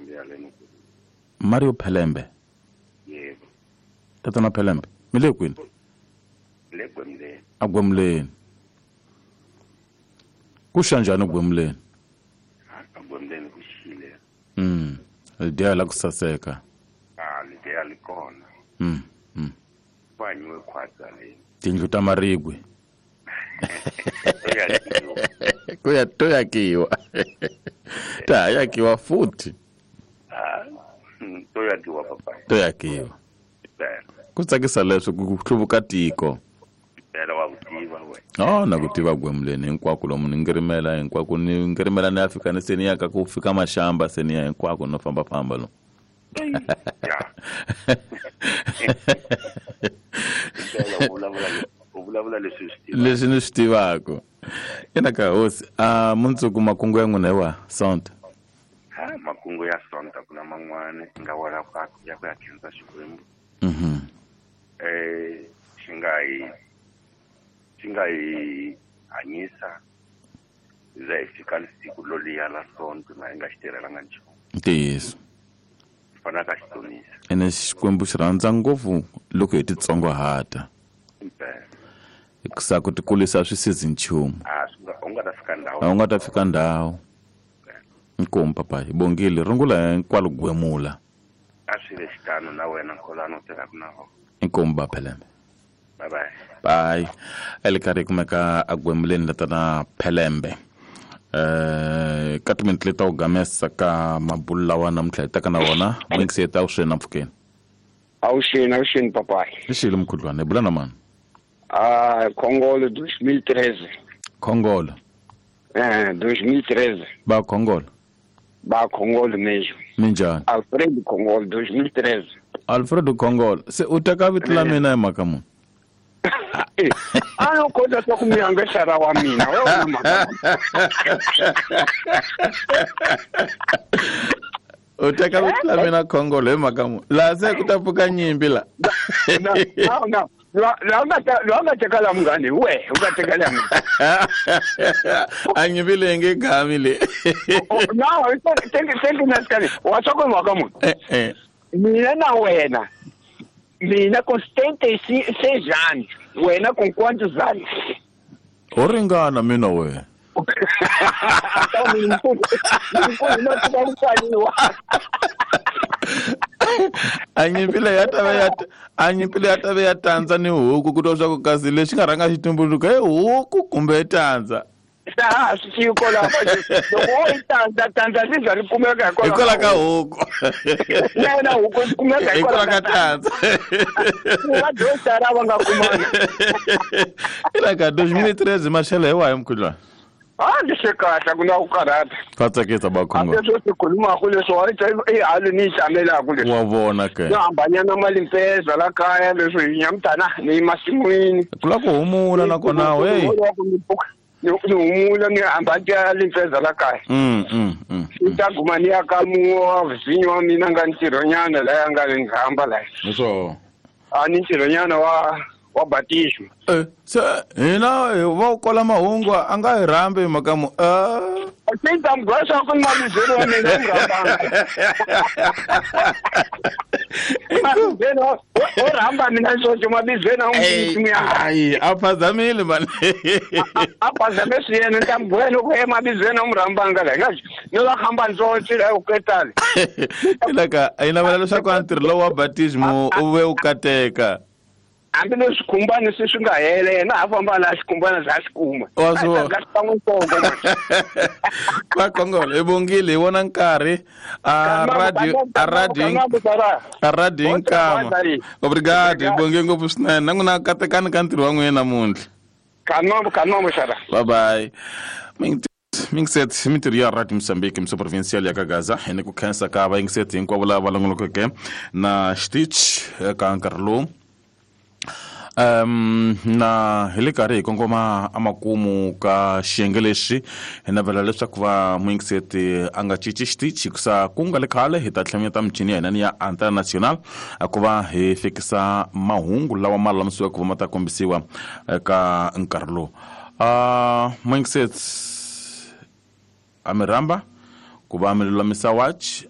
Phelembe ya le Mukuru. Mario Phelembe. Yebo. Tatana Phelembe, mi le kwini? Le Gwemuleni. A Gwemuleni. Ku xa njhani Gwemuleni? A Gwemuleni ku xile. Lidiya la ku saseka. A lidiya li kona. Ku hanyiwe khwatsa le. Tindlu ta maribye. Ku ya to yakiwa. Ta yakiwa futhi. To yakiwa papa. To yakiwa. Ku tsakisa leswi ku hluvuka tiko. Phela wa kutiva we. Oh, na ku tiva Gwemuleni hinkwako lomu ni ngirimela hinkwako ni ngirimela ni Afrika ni se ni ya ka ku fika maxamba se ni ya hinkwako no famba famba lo. Ya. U vulavula leswi swi tivaka. Leswi ni swi tivaka. Ina ka hosi, a mundzuku makungu ya n'wina hi wa Sonto. Ha makungu ya Sonto ku na man'wana nga wala ka ya ku ya khensa Xikwembu. Xi nga hi hanyisa za hi fika siku loliya la Sonto na hi nga xi tirhelanga nchumu. Ntiyiso. Fana ka xitonisa. Ene Xikwembu xi rhandza ngopfu loko hi titsongohata. Hikusa ku tikulisa swi sizi nchumu. A u nga ta fika ndhawu. A u nga ta fika ndhawu. Inkomu papa, hi bongile rungula hinkwalo Gwemula. A swi ve xitano na wena Nkholani u tirhaka na vona. Inkomu ba Phelembe. Bye bye. Bye. Ele karhi kumeka a Gwemuleni la tana Phelembe. Ka timinete leti ta ku gamesa ka mabulu lawa namuntlha hi taka na wona muyingiseti a wu sweni mpfhukeni. Awuxeni papayi. I xile mukhuhlwana, hi bula na mani? Ah, Khongolo 2013. Khongolo. 2013. Ba Khongolo. Ba Khongolo mesmo. Minjhani? Alfredo Khongolo 2013. Alfredo Khongolo, se u teka vito la mina hi mhaka muni? A no kota swa ku mi angesara wa mina, we u na mhaka. U teka vito la mina Khongolo hi mhaka muni? Laha se ku ta pfuka nyimpi la. No, no. La nga teka la munghani we, u nga teka la munghani. A nyimpi leyi nge gami le. No, thank you nasikani. Wa swa ku mhaka muni? Mina na wena. Mina com 76 anos, wena com quantos anos? Ho ringana mina wena. A nyimpi leyi ya ta va ya a nyimpi leyi ya ta va ya tandza ni huku ku twa swa ku kasi lexi nga rhanga xi tumbuluka i huku kumbe i tandza. Ha swi tivi kwalaho loko wo yi tandza tandza ri za ri kumeka hikwalaho ka huku. Na yona huku yi kumeka hikwalaho ka tandza. Va dosara va nga kumanga. Ina ka 2013 maxelo hi wahi mukhuhlwana? A ni swi kahle ku na ku karhata. Ka tsakisa ba Khongolo. Hambi leswi swi khulumaka leswi wa i hali ni yi tsamelaka leswi. Wa vona ke. Yo hambanyana malimpeza la kaya leswi hi nyamutana ni masin'wini. Ku la ku humula nakona hey. Ni humula ni hamba ni ya limpeza la kaya. Ni ta guma ni ya ka mun'we wa vhinyo wa mina nga ntirhonyana la ya nga ni hamba la. Leswo. A ni ntirhonyana wa batismo. Se hina va ku kola mahungu a nga hi rhambi hi mhaka mu. Se ta mi byela ku ni mavizelo wa mina u rhambanga. Mavizelo o rhamba mina xoxo mavizelo a n'wi ya. Ayi a phazamile mani. A phazame swiyena ni ta mi byela ku mavizelo a n'wi rhambanga la nga ni va hamba ntsontswe la ku ketale. Ilaka a yi navela leswaku a ntirho lowu wa batismo u ve u kateka. Hambi leswi swikhumbani se swi nga hela yena a famba laha xikhumbana za xi kuma. Wa swi vona. A nga xi ntsongo manje. Va Khongolo hi bongile hi vona nkarhi a radio a radio a radio nkama. Obrigado hi bonge ngopfu swinene na n'wina katekani ka ntirho wa n'wina namuntlha. Kanombo kanombo xara. Bye bye. Mingset mintirho ya Radio Mozambique mso provincial ya Kagaza hi ni ku khensa ka vayingiseti hinkwavo lava va longolokeke na xitichi eka nkarhi lowu. Na hi le karhi hi kongoma amakumu ka xiyenge lexi hi navela leswaku va muyingiseti a nga cinci xitichi hikusa ku nga le khale hi ta tlhameta michini ya hina ni ya Antena Nacional ku va hi fikisa mahungu lawa ma lulamisiweke ku va ma ta kombisiwa eka nkarhi lowu. Muyingiseti a mi rhamba ku va mi lulamisa watch.